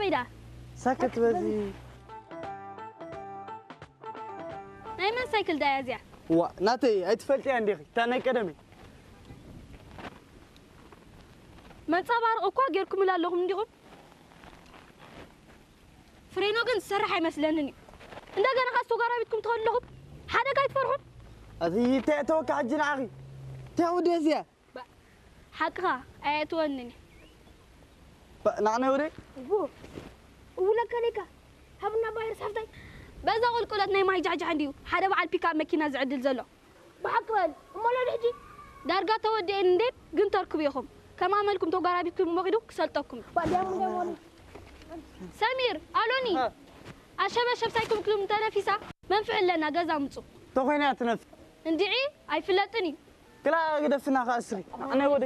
ኢዳ ሰክት በዚ ናይ መን ሳይክል ዳያ እዚኣ? ዋ ናተይ ኣይትፈልጥያ እንዲኺ እታ ናይ ቀደመይ መንጸባርቕ እኳ ጌርኩምላ ኣለኹም እንዲኹም። ፍሬኖ ግን ዝሰርሕ ኣይመስለንን እዩ። እንደገና ካስ ተጓራቢትኩም ትኸዱ ኣለኹም ሓደጋ ኣይትፈርሑን? ኣቲ ተተወካ ሕጂ ንዓኺ ተውደ እዚኣ ሓቅኻ ኣየትወንን እዩ። ንዓነ ወደ እቡ እቡ ለከለይካ ሃብና ባይር ሳፍታይ በዛ ቁልቁለት ናይ ማይ ጃሕጃሕ እንዲዩ ሓደ በዓል ፒካፕ መኪና ዝዕድል ዘሎ። ብሓቂ በል እሞ ሎዲ ሕጂ ዳርጋ ተወዲኤን እንዴ ግን ተርክቡ ኢኹም። ከም ኣመልኩም ተጓራቢትኩም እሞ ኺዱ ክሰልጠኩም እዩ። ባዲያሙ ደሞኒ ሰሚር ኣሎኒ ኣሸበሸብ ሳይኩም ክሉም ተነፊሳ መንፍዕ ኣለና ገዛ ምጹ ተኾይና ትነፍ እንድዒ ኣይፍለጥን እዩ ክላ ግደፍና ከኣስሪ ኣነ ወደ